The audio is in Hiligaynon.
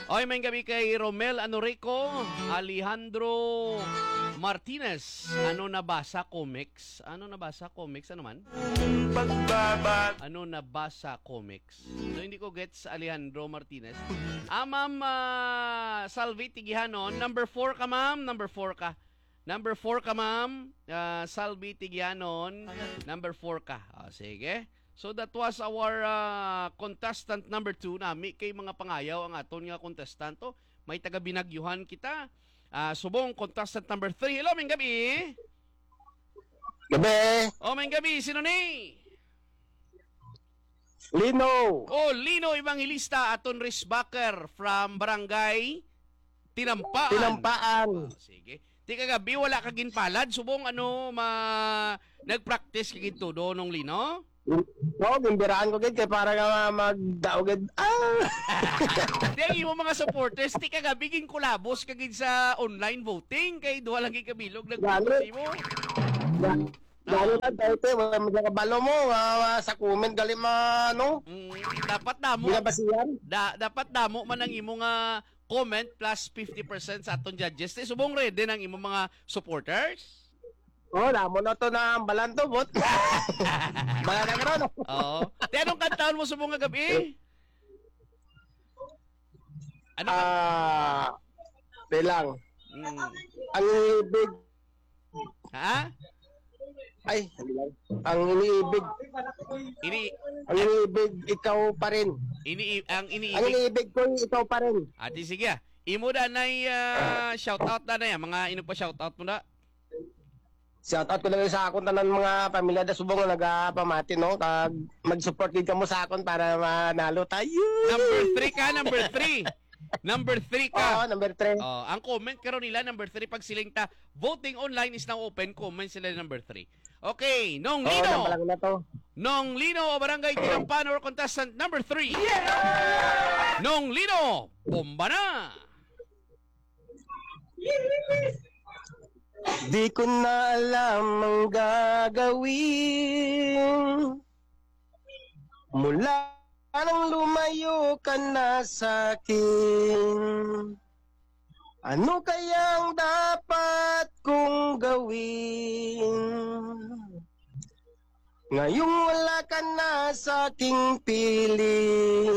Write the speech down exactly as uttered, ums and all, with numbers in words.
Oy, may gabi kay Romel Anorico, Alejandro Martinez. Ano nabasa, comics? Ano nabasa, comics? Ano man? Ano nabasa, comics? So, hindi ko gets, Alejandro Martinez. Ah, Ma'am, ah, Salvi Tigihanon, number four ka, ma'am. Number four ka. Number four ka, ma'am. Ah, Salvi Tigianon, number four ka. Ah, sige. So that was our ah, contestant number two. Nami kay mga pangayaw ang aton nga contestant. Oh, may taga Binagyuhan kita. Ah, subong contestant number three. Hello, may gabi. Gabi. Oh, may gabi. Sino ni? Lino. Oh, Lino Evangelista, aton risk backer from Barangay Tinampaan. Tinampaan. Oh, sige. Ti kagabi wala ka ginpalad, subong ano, ma nag-practice ka gid todo, Nong Lino? Oo, gimbiraan ko gid kay para nga magdaog gid. Ah! Di ang imo mga supporters, ti kagabi ginkulabos ka gid sa online voting kay duha lang gid kabilog nag-vote sa imo. Lalo na dati, wala mo kabalo mo, ah, sa comment gali ma, ano, Mm, dapat damo binabasihan. da, dapat damo man ang imo nga comment plus fifty percent sa aton judges. Ti subong ready ang imo mga supporters? Oh, damo na to na ang balan to, bot. Balan na karon. Oo. Ti anong kantaon mo subong nga gabi? Ano ka? Ah, di lang. Mm. Ang iniibig, Ha? Ay, hindi lang. Ang iniibig, Ini ang iniibig, ikaw pa rin. ini ang Ang iniibig. Iniibig ko, ikaw pa rin. Ati sige. Imo da nay ah, shout out da nay, mga ino pa shout out mo da? Shout out ko lang sa akon tanan mga pamilya da subong nga nagapamati, no? Kag mag-support gid kamo sa akon para manalo tayo. Number three ka, number three. Number three Oo, ka. number three. Oh, ang comment karon nila number three pag siling ta, voting online is now open, comment sila number three. Okay, Nong Oo, Lino. Nang lang na to. Nong Lino, Barangay Tinampan or contestant number three. Nong Lino, bomba na. Di ko na alam ang gagawin. Mula nang lumayo ka na sa akin, ano kaya ang dapat kong gawin? Ngayong wala ka na sa aking piling,